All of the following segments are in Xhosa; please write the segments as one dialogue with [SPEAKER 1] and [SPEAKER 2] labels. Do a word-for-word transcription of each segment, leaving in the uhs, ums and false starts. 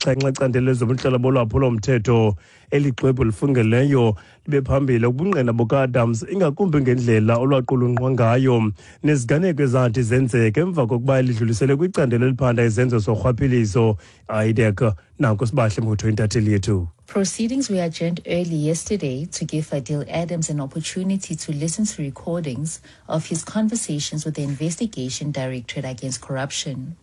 [SPEAKER 1] yesixhenxe ecandelo lezobuntlalo bolwaphulo-mthetho. Eli xwebhu lifungeleyo libe phambili ubungqina bukaAdams, ingakumbi ngendlela olwaqulunqwa ngayo neziganeko ezathi zenzeka emva kokuba lidluliselwe kwicandelo eliphanda izenzo zorhwaphilizo, IDAC. Nanko Sibahle Mbutho, intatheli yethu.
[SPEAKER 2] Proceedings were adjourned early yesterday to give Fadiel Adams an opportunity to listen to recordings of his conversations with the Investigation Directorate Against Corruption.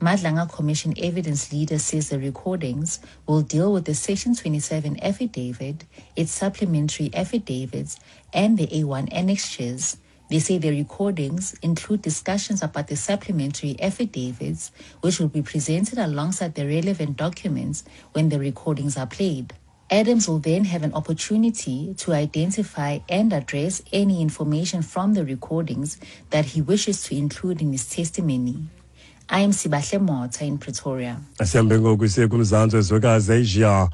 [SPEAKER 2] Madlanga Commission evidence leader says the recordings will deal with the Section twenty-seven affidavit, its supplementary affidavits, and the A one annexures. They say the recordings include discussions about the supplementary affidavits, which will be presented alongside the relevant documents when the recordings are played. Adams will then have an opportunity to identify and address any information from the recordings that he wishes to include in his testimony. I am Sibahle Motha in Pretoria.
[SPEAKER 1] Sihambe ngoku siye kumzantsi wezwekazi Asia.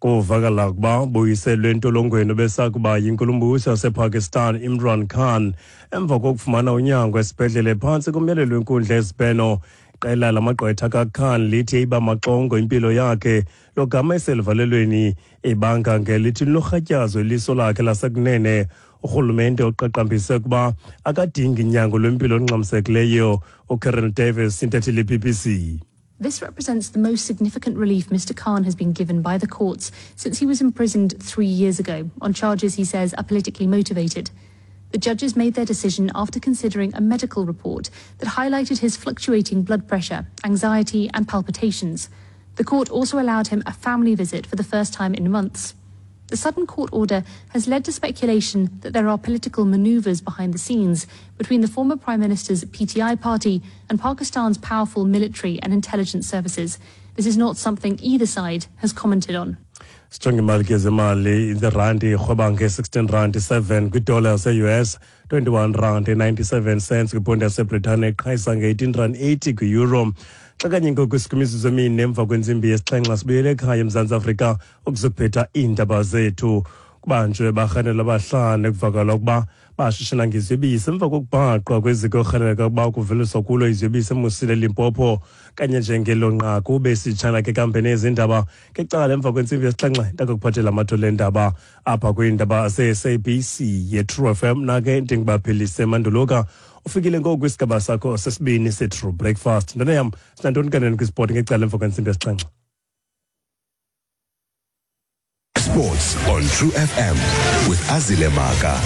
[SPEAKER 1] Kuvakala ukuba buyiselwe entolongweni besakuba yinkulumbuso yasePakistan Imran Khan emva kokufumana unyango esibhedlele phantsi komyalelo wenkundla yesibheno. Iqela lamagqwetha kaKhan lithi iba maxongo impilo yakhe logama eseluvalelweni, ibanga ngelithi linorhatyazo iliso lakhe lasekunene. Urhulumente uqaqambise ukuba akadingi nyango lwempilo olungxamisekileyo. UKaren Davis, intatheli ye-B B C.
[SPEAKER 3] This represents the most significant relief Mister Khan has been given by the courts since he was imprisoned three years ago on charges he says are politically motivated. The judges made their decision after considering a medical report that highlighted his fluctuating blood pressure, anxiety, and palpitations. The court also allowed him a family visit for the first time in months. The sudden court order has led to speculation that there are political maneuvers behind the scenes between the former Prime Minister's P T I party and Pakistan's powerful military and intelligence services. This is not something either side has commented on.
[SPEAKER 1] Sijonge imali ke zemali. Irandi irhweba nge-sixteen rand seven kwidola yase-U S, twenty-one rand ninety-seven cents kwiponti yaseBritane, iqhayisa nge-eighteen rand eighty kwi-euro. Xa kanye ngoku sikwimizuzu emine emva kwentsimbi yesixhenxe, sibuyele ekhaya eMzantsi Afrika ukuzokuphetha iindaba zethu. Kubanjwe barhanelwa abahlanu ekuvakala ukuba bashishina ngeziyobisi emva kokubhaqwa kweziko erhaneleka ukuba kuveliswa kulo iziyobisi eMusile, Limpopo. Kanye njengelo nqaku besitshana ke kambe nezindaba ngecala emva kwentsimbi yesixhenxe, ndakukuphathela amathole endaba apha kwiindaba ze-S A B C ye-True F M. Nake ndingibaphelise manduluka ufikile ngoku kwisigaba sakho sesibini se-True Breakfast. Ntwana yam, sinantoni kanene kwisport ngecala emva kwentsimbi yesixhenxe?
[SPEAKER 4] Sports on True F M with Azile Maka.